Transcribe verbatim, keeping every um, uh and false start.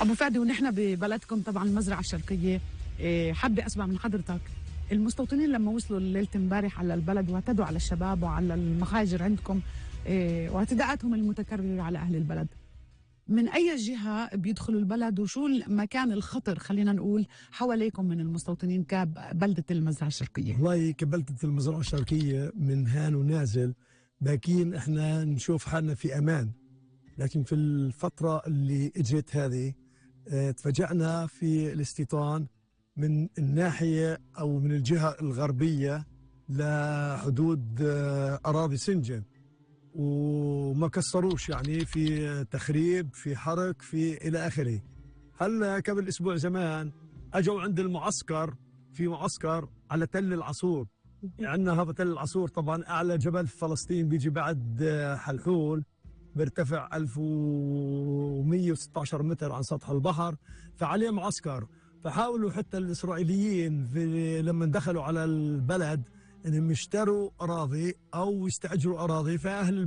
أبو فادي، ونحن ببلدكم طبعا المزرعة الشرقية، حابة أسمع من حضرتك المستوطنين لما وصلوا ليلة امبارح على البلد واعتدوا على الشباب وعلى المخاجر عندكم واعتداءاتهم المتكررة على أهل البلد، من أي جهة بيدخلوا البلد وشو المكان الخطر خلينا نقول حواليكم من المستوطنين كبلدة المزرعة الشرقية؟ والله كبلدة المزرعة الشرقية من هان ونازل باكين احنا نشوف حالنا في أمان، لكن في الفترة اللي اجت هذه اه تفاجأنا في الاستيطان من الناحية أو من الجهة الغربية لحدود اه أراضي سنجن، وما كسروش يعني في تخريب في حرق في إلى آخره. هلا قبل أسبوع زمان أجوا عند المعسكر، في معسكر على تل العصور، عندنا هذا تل العصور طبعا أعلى جبل في فلسطين، بيجي بعد حلحول بيرتفع ألف ومئة وستة عشر متر عن سطح البحر، فعليه معسكر. فحاولوا حتى الإسرائيليين في لما دخلوا على البلد إنهم يشتروا أراضي أو يستأجروا أراضي، فأهل